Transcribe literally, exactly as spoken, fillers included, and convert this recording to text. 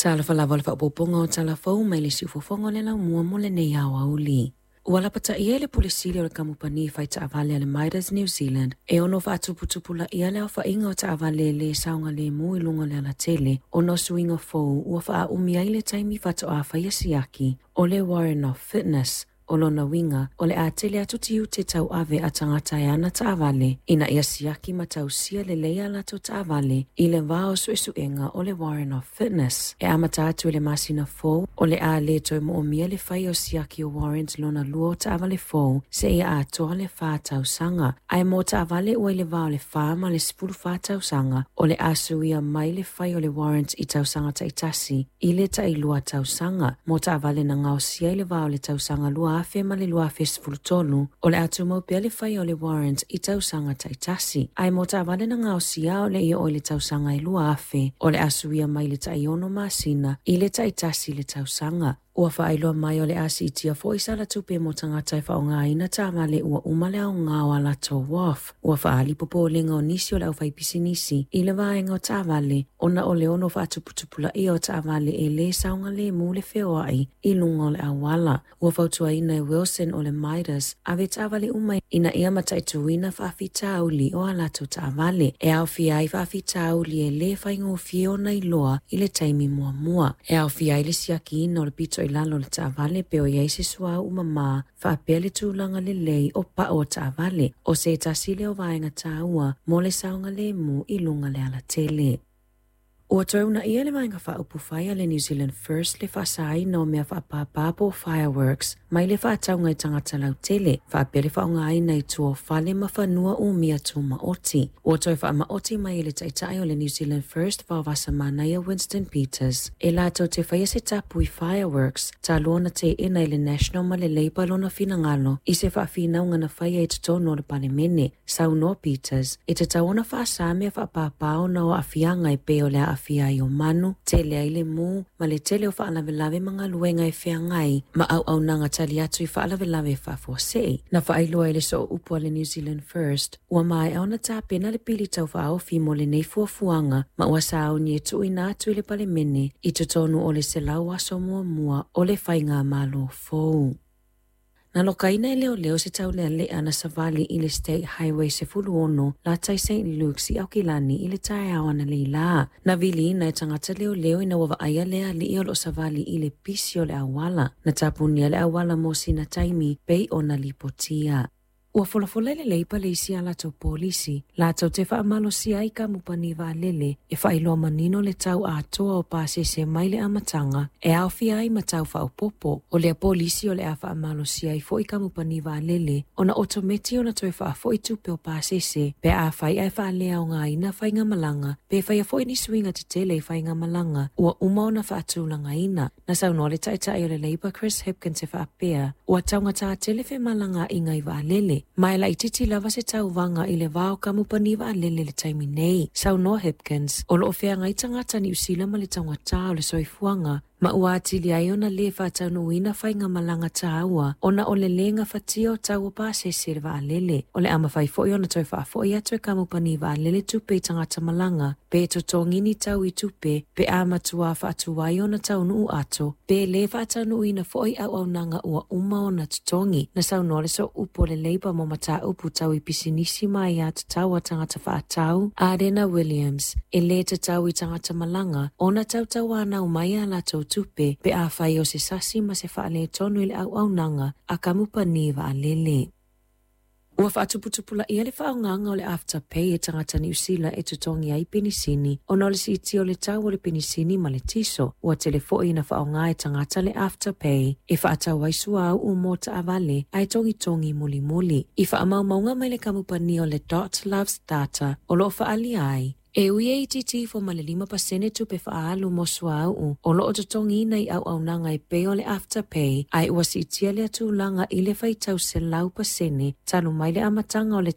Talofa lava o le faaopoopoga o tala fou mai le siufofoga o le laumua mo lenei aoauli. Ua lapataia le Pule Sili o le Kamupani fai taavale a le Midas New Zealand e ono faatuputupulaia le aofaiga o taavale le saogalemu i luga o le alatele ona o suiga fou ua faaumi ai le taimi faatoa faia siaki o le Warrant of Fitness. O lona uiga, o le a tele atu tiute tauave a tagata e ana taavale ina ia siaki ma tausia lelei a latou taavale i le va o suesuega o le Warrant of Fitness. E amata atu i le masina fou, o le a le toe moomia le fai o siaki o warrant lona lua o taavale fou seia atoa le fa tausaga. Ae mo taavale ua i le va o le fa ma le sefulu fa tausaga, o le a suia mai le fai o le warrant i tausaga taitasi i le tailua tausaga. Mo taavale na gaosia i le va o le tausaga lua afe ma le lua afe sefulu tolu, o le a tumau pea le fai o le warrant i tausaga taitasi. Ae mo taavale na gaosia o le i oo i le tausaga e lua afe, o le a suia mai le taiono masina i le taitasi le tausaga. Ua faailoa mai o le a siitia foi sala tupe mo tagata e faaaogaina taavale ua uma le aoga o a latou W A F. Ua faaali popolega o nisi o le aufaipisinisi i le vaega o taavale ona o le ono faatuputupulaia o taavale e le saogalemu le feoai i luga o le auala. Ua fautuaina e Wilson o le Midas ave taavale uma ina ia mataituina faafitauli o a latou taavale e aofia ai faafitauli e le faigofie ona iloa i le taimi muamua. E aofia ai le siakiina o le pito i lalo o le taavale pe o i ai se suauu mamā faapea le tulaga lelei o pao o taavale o se tasi lea o vaega taua mo le saogalemu i luga le alatele. Ua toe uunaia le vaega faaupufai a le New Zealand First le faasaina o mea faapāpā po o fireworks mai le faatauga i tagata lautele faapea le faaaogaina i tua o fale ma fanua umia tumaoti. Ua toe faamaoti mai e le taitai o le New Zealand First Vaovasamanaia Winston Peters e latou te faia se tapu i fireworks talu ona teena i le National ma le Labour lona finagalo i se faafinauga na faia i totonu o le Palemene. Saunoa Peters e tatau ona faasa mea faapāpā ona o aafiaga e pei o le aafia ai o manu, tele ai le mu, ma le tele o faalavelave ma galuega e feagai ma auaunaga tali atu i faalavelave faafuasei. Na faailoa i le sooupu a le New Zealand First, ua maea ona tapena le pili taufaaofi mo lenei fuafuaga ma ua sauni e tuuina atu i le Palemene i totonu o le selau aso muamua o le faigamalo fou. Na lokaina e leoleo se taulealea na savali i le State Highway sefulu ono latai Saint Luke's i Aukilani i le taeao analeila. Na viliina e tagata leoleo ina ua vaaia le alii o loo savali i le pisi o le auala. Na tapunia le auala mo sina taimi pei ona lipotia. Ua folafola i le Leipa le isi a latou polisi, latou te faamalosia ai kamupani vaalele e faailoa manino le tau atoa o pasese mai le amataga e aofia ai ma tau faaopoopo. O lea polisi o le a faamalosia ai foi kamupani vaalele ona otometi ona toe faafoi tupe o pasese pe a fai ae faaleaogaina faigamalaga pe faia foi ni suiga tetele i faigamalaga ua uma ona faatulagaina. Na saunoa le taitai o le Labour Chris Hipkins e faapea, ua taugatā tele femalagaaiga i vaalele, ma e laitiiti lava se tauvaga i le va o kamupani vaalele le taimi nei. Saunoa Hipkins, o loo feagai tagata Niu Sila ma le taugatā o le soifuaga, ma ua atili ai ona le faataunuuina faigamalaga taua ona o le le gafatia o tau o pasese le vaalele. O le a mafai foi ona toe faafoi atu e kamupani vaalele tupe i tagata malaga, pe totogi ni tau i tupe, pe a matua faatuai ona taunuu ato, pe le faataunuuina foi auaunaga ua uma ona totogi. Na saunoa le sooupu o le Labour mo mataupu tau i pisinisi ma aiā tatau a tagata faatau, Arena Williams, e le tatau i tagata malaga ona tautauanau mai a latou tupe pe a fai o se sasi ma se faaletonu i le auaunaga a kamupani vaalele. Ua faatuputupulaia le faaaogaga o le Afterpay e tagata Niu Sila e totogi ai penisini ona o le siitia o le tau o le penisini ma le tiso. Ua tele foi ina faaaoga e tagata le Afterpay e faatau ai suauu mo taavale ae togitogi mulimuli. I faamaumauga mai le kamupani o le Dot Loves Data o loo faaalia ai e ui e itiiti ifo ma le lima pasene tupe faaalu mo suauu o loo totogiina i auaunaga e pei o le Afterpay, ae ua siitia lea tulaga i le faitau selau pasene talu mai le amataga o le